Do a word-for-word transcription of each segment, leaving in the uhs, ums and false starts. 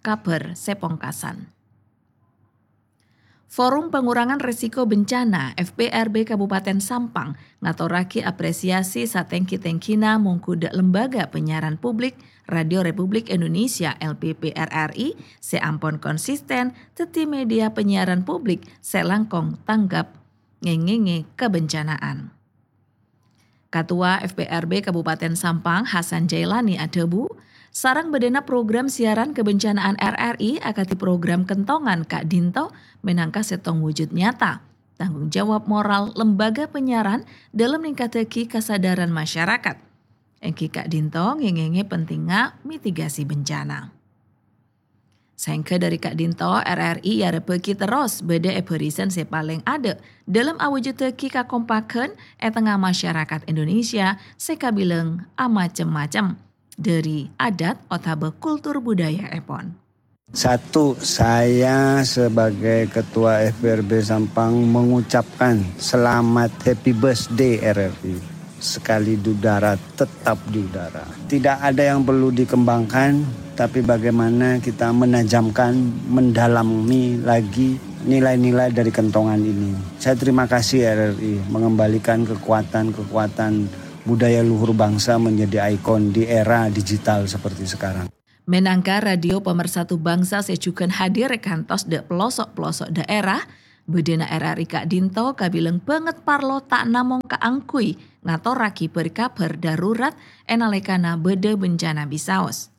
kabhâr sè pongkasan. Forum Pengurangan Risiko Bencana, F P R B Kabupaten Sampang, ngatorraghi apresiasi satèngghi-tèngghina mongghu dhâ' Lembaga Penyiaran Publik Radio Republik Indonesia, L P P R R I, sè ampon konsisten dhâddhi media penyiaran publik sè langkong tanggap ngèngèngè kabencanaan. Katowa F P R B Kabupaten Sampang, Hasan Jailani, adhâbu, sareng bâdâna program siaran kabencanaan R R I akadhi program kentongan ka'dinto mènangka sèttong wujud nyata tanggung jawab moral lembaga penyiaran dhâlem ningkaddhâghi kasadhârân masyarakat. Èngghi ka'dinto ngèngèngè pentingnga mitigasi bencana. Saèngghâ dhâri ka'dinto, R R I èarepaghi terros bâdâ è bârisan sè palèng adâ' dhâlem awujuddhâghi kakompaghân è tengnga masyarakat Indonesia sè kabilang amacem-macem, dhâri adat otabâ kultur budayaèpon. Satu, saya sebagai Ketua F P R B Sampang mengucapkan selamat happy birthday R R I. Sekali di udara, tetap di udara. Tidak ada yang perlu dikembangkan, tapi bagaimana kita menajamkan, mendalami lagi nilai-nilai dari kentongan ini. Saya terima kasih R R I mengembalikan kekuatan-kekuatan budaya luhur bangsa menjadi ikon di era digital seperti sekarang. Mènangka radio pemersatu bangsa sè jhughân hadir è kantos dhâ' peloso'-peloso' dhaèra, bâdâna R R I ka'dinto kabilang bângèt parlo ta' namong kaangghuy ngatorraghi bâri-kabhâr darurat è nalèkana bâdâ bencana bisaos.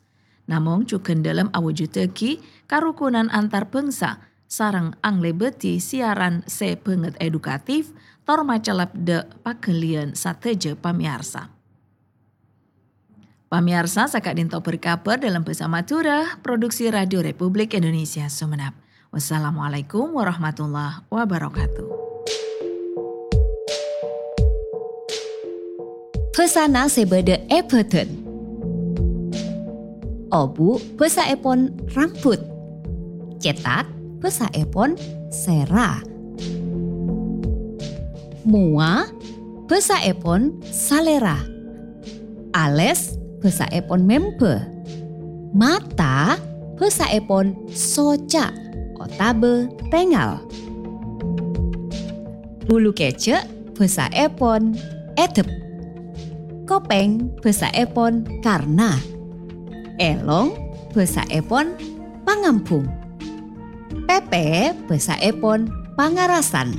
Namong jhughân dhâlem awujuddhâghi karukunan antar bangsa sareng anglèbâdhi siaran sè bângèt edukatif, tor macellep dhâ' paghâliyân sadhâjâ pamèyarsa. Pamèyarsa, saka'dinto bâri-kabhâr dhâlem bhâsa Madhurâ, produksi Radio Republik Indonesia Sumenep. Wassalamualaikum warahmatullahi wabarakatuh. Bhâsana sè bâdâ è bhâdhân. Obu' bhâsaèpon rambut. Cètak bhâsaèpon sèra. Mowa bhâsaèpon salèra. Alès bhâsaèpon mèmbâ. Mata bhâsaèpon soca' otabâ tèngal. Bulu kèjhâ' bhâsaèpon èdhep. Kopèng bhâsaèpon karna. Èlong bhâsaèpon pangambhung. Pèpè bhâsaèpon pangarasan.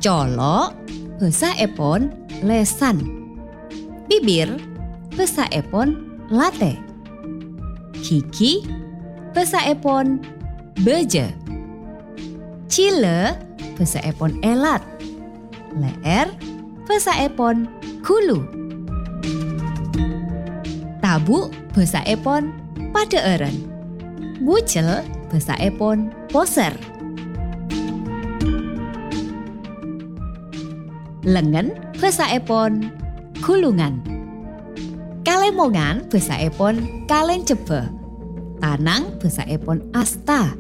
Colo' bhâsaèpon lèsan. Bibir bhâsaèpon latè. Ghighi bhâsaèpon bâjâ. Jhilâ bhâsaèpon èlat. Lè'èr bhâsaèpon ghulu. Tabu' bhâsaèpon padhâ'ârân. Bujel bhâsaèpon posèr. Lengngen bhâsaèpon ghulungan. Kalèmongan bhâsaèpon kalèncebbhâ. Tanang bhâsaèpon asta.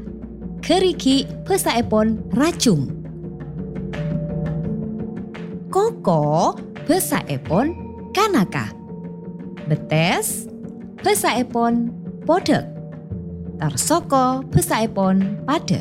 Ghârighi' bhâsaèpon rajung. Koko bhâsaèpon kanaka. Bettès bhâsaèpon podhâk. Tor soko bhâsaèpon padâ.